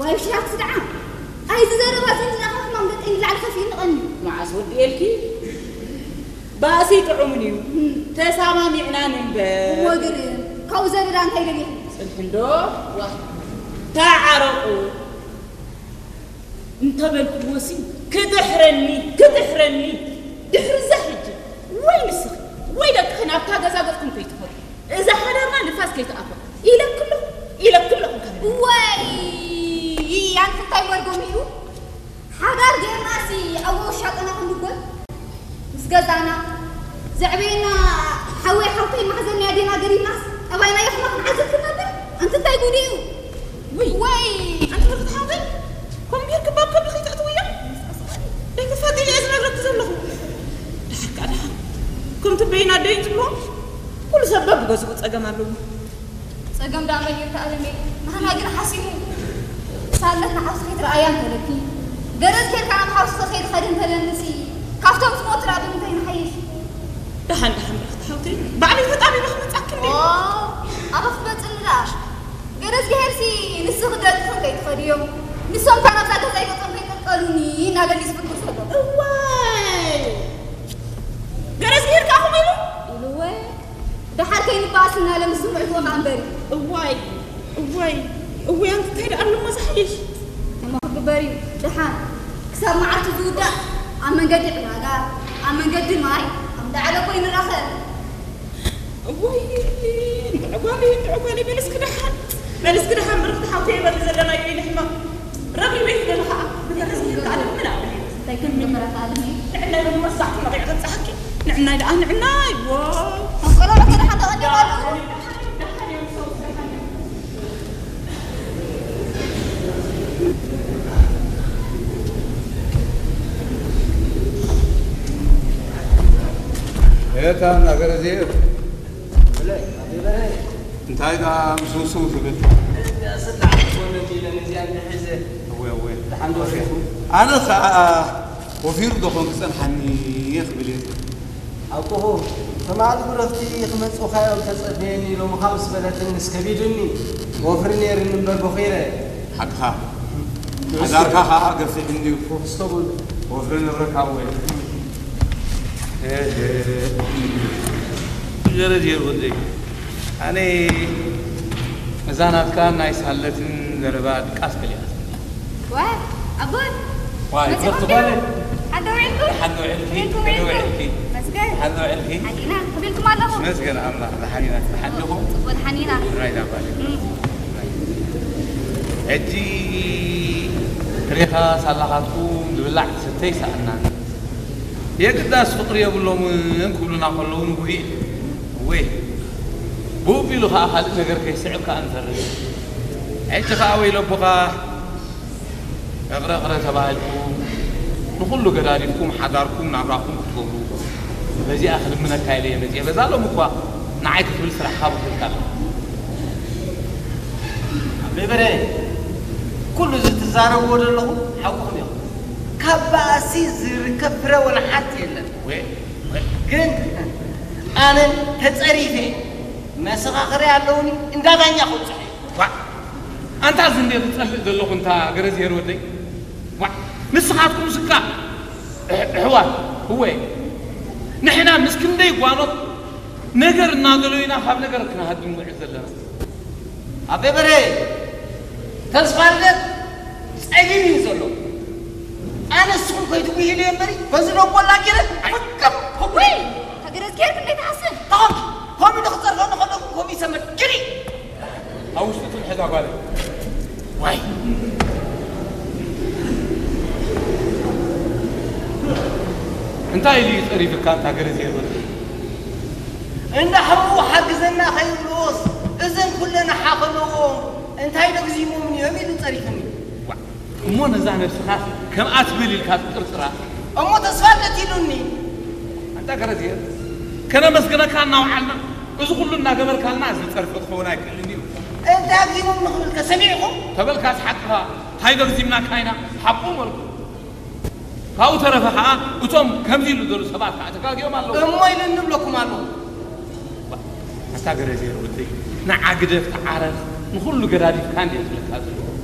ዋይ ሽራት ስድዓ፣ ኣይዚ ዘረባ እዚ እንድናኻ ሕማም ደቀይ ንላዕሊ ከፊእኒ ቀኒ። መዓስ ወዲኤልኪ? ባእሲ ጥዑምን እዩ። ተሳማሚዕና ንንበር። እሞ ግን ካብኡ ዘረዳ እንታይ ደሊኹ? ጽንሒ እንዶ፣ ዋ፣ ተዓረቑ እንተበልክዎሲ ክድሕረኒ፣ ክድሕረኒ። ድሕሪ እዛ ሕጂ ወይ ንስኺ ወይ ደቅኺ ናብታ ገዛ ገጽኩም ከይትኸዱ፣ እዛ ሓዳርና ንፋስ ከይትኣትዋ ኢለኪ ኣለኹ፣ ኢለኪ ኣለኹ። ወይ ኣንቲ እንታይ መርጎም እዩ? ሓዳር ጌርናሲ ኣብ ወሻጠና ክንድጎል ምስ ገዛና ዘዕበየና ሓወይ ሓውተይ ማሕዘን ኣዴና ገዲፍናስ ጠባይና ይኽማ ክንዓዝብ ክንነብር? ኣንቲ እንታይ ጉድ እዩ? ውይ፣ ወይ ኣንቲ ብርክቲ ሓውተይ፣ ኮምቢር ክባብ ከብዲ ከይተእትውያ? ደይተፋጢ እየ ዝነግረኪ ዘለኹ። ድሓር ከኣ ድሓር። ከምቲ በይና ደይ ትብሎ፣ ኩሉ ሰብ በብገዝኡ ጸገም ኣለዎ። ጸገም ደኣ መን ይርዳእ ኣለኒ? ንሕና ግን ሓሲሙ። ሳለት ንሓውስኺ ትረኣያ እንተለኪ፣ ገረዝ ኬድካ ናብ ሓውስኺ ከይድ ኸድ እንተለንሲ፣ ካብቶም ዝሞቱ ደኣ ብምንታይ ንሓይሽ? ደሓን፣ ደሓን፣ ብርኽቲ ሓውተይ፣ ባዕለይ ተጣቢበ ክመጻኪ እንድየ። ኦ፣ ኣበ ክትመጽኒ ደኣ። ገረዝግሄርሲ ንስኺ ደቅኺ ከይትኸድዮም፣ ንሶም እታ ናብዛ ገዛ ገጾም ከይቀልቀሉኒ እናበሊ ዝፍክር ዘሎ። እዋይ! ገረዝግሄር ከኣ ከምኡ ኢሉ? ኢልወ። ደሓር ከይንበኣስ እናለ ምስ ዝምዕትዎ ከኣ እምበሪ። እዋይ፣ እዋይ፣ እዋይ፣ ኣንቲ እንታይ ደኣ ኣለሞ ዝሓይሽ? እሞ ክግበር እዩ። ደሓን ክሳብ መዓልቲ ዝውዳእ ኣብ መንገዲ ዕዳጋ፣ ኣብ መንገዲ ማይ፣ ኣብ ዳዕለ እኮ ይንራኸብ። እዋይ፣ እንድዒ ጓለይ፣ እንድዒ ጓለይ፣ በል እስኪ ደሓን፣ በል እስኪ ደሓን፣ ብርኽቲ ሓውተይ፣ በል ዘለናዮ ኢለ ሕማም ረኺበ ይኽእል ኸዓ፣ ብተመስገን ከኣ ደምና። እንታይ ከም ጀመረ ከኣ ደምና። ንዕናይ እውን መሳዕቲ ነቒዕ ከብጽሓኪ። ንዕናይ ደኣ፣ ንዕናይ፣ ዋው። ከም ቆልዑ ከደሓን ተቐዲሙ ኣሎ። ኤታ እናገረ ዘይር። ብለይ፣ ኣቤ በርሀ። እንታይ ደኣ ምስውስው ትብል? እዚኣ ስላዕ ትኾነኒ ኢለን እዚኣ እንድሕዘ። እወ፣ እወ። ደሓን ዶ ርኢኹም? ኣነ ኸኣ ወፊሩ ዶ ኾን ክጸንሓኒ እየ ክብል እየ። ኣቦኹ፣ ትማሊ ብረኽቲ ክመጽኡኻ እዮም ተጸበየኒ ኢሎምኻ ምስ በለትኒ፣ ንስ ከቢዱኒ፣ ወፍሪ ነይርኒ እምበር በኺረ። ሓቅኻ። ሓዳርካ ኸኣ ገፊሕ እንድዩ። ክስተቡል። ወፍሪ ንብረካ እወ። እህ፣ ገረድ የርወደይ። ኣነ እዛ ናትካ ናይ ሳለትን ዘረባ ድቃስ ከሊኣትኒ። ዋ፣ ኣቦይ። ዋይ፣ መጺኹም ከፍቲ ድዩ? ጓለይ። ሓንቲ ውዒልኩም? ሓንቲ ውዒልኪ? ውዒልኩም፣ ሓንቲ ውዒልኩም? ውዒልኪ? መስገን። ሓንቲ ውዒልኪ? ሓኒና፣ ከመይ ኢልኩም ኣለኹም? መስገን ኣምላኽ፣ ዝሓኒና፣ ዝሓድኹም? ጽቡቕ፣ ሓኒና። ራይዳ ጓለይ። እም። ሕጂ ሪኻ ሳላኻትኩም ዝብላዕ ዝስተይ ሰኣናን። የግዳስ ፍቕሪ የብሎምን ክብሉና ከለዉ ንጉሂ። እወ፣ ብኡ ቢሉ ኸኣ ካልእ ነገር ከይስዕብ ከኣ ንፈርህ። ሕጂ ኸኣ ወይለቦኻ፣ እቕረ እቕረ ተባሂልኩም፣ ንኹሉ ገዳዲፍኩም፣ ሓዳርኩም፣ ናብራኹም ክትገብሩ፣ በዚኣ ክልምነካ ኢለ እየ መጺአ። በዛ ሎም እኳ ንዓይ ክትብል ስራሕኻ በኺልካ ኣለኻ። ኣቤ በርሀ፣ ኩሉ እዚ ትዛረብዎ ዘለኹም ሓቁኹም ኢኹም። ካብ ባእሲ ዝርከብ ፍረ ወላ ሓንቲ የለን። ወ-፣ ወ-፣ ግን ኣነ ተጸሪፌ መሰኻኽሪ ኣለውኒ፣ እንዳ ዳኛ ክብጽሕ እዩ። ዋዕ! ኣንታ እዚ እንዴ ዝጸልእ ዘለኹ እንታ ገረዝሄር ወደይ? ዋዕ! ንስኻትኩም ስካ ኣሕ-፣ ኣሕዋት፣ እወ፣ ንሕና ምስ ክንደይ ጓኖት ነገር እናደለዩና ካብ ነገር ክንሃድም ንውዕል ዘለና። ኣቤ በርሄ፣ ተስፋ ልደት ጸሊም እዩ ዘሎ። ኣነ ንስኹም ከይትጉሂሉ እየ እምበሪ፣ በዚ ደንጎላ ገይረ ፍቅም ወይ፣ ተገረዝጌር ክንደይ ትሓስብ? ተኾንኪ፣ ከምኡ ኢሉ ክጸርፈኒ ከለኹም ከምኡ ይሰመር። ግዲ! ኣብ ውሽጢ ትምሕዛ ጓለይ። ዋይ! እንታይ ኢሉ እዩ ጸሪፍካ፣ ኣንታ ገረዝጌር ወደይ? እንዳ ሕሙቕ ሓግዘና ከይብልዎስ፣ እዘን ኩለን ሓኸለዎ፣ እንታይ ደግዚሞም እዮም ኢሉ ጸሪፉኒ። ዋዕ! እሞ ነዛ ነብስኻስ ከምኣ ትብል ኢልካ ትጥርጥራ? እሞ ተስፋ ኣለኪ ኢሉኒ። ኣንታ ገረዝጌር፣ ከነመስግነካ እናወዓልና፣ እዚ ኩሉ እናገበርካልና፣ እዚ ጸርፊ ክኸውን ኣይክእልን እዩ። እንታይ ኣግዚሞም ንኽብልከ ሰሚዕኹም? ተበልካስ ሓቅኻ፣ እንታይ ገግዚምናካ ኢና፣ ሓቁ መልኩ። ካብኡ ተረፈ ኸዓ፣ እቶም ከምዚ ኢሉ ዘሉ ሰባት ኸዓ ተጋግዮም ኣለዉ። እሞ ኢሉ እንብለኩም ኣለዉ። ኣታ ገረዝጌር ወደይ፣ ንዓ ግደፍ፣ ተዓረፍ፣ ንኹሉ ገዳዲፍካ እንድየ ዝብለካ ዘለኹ።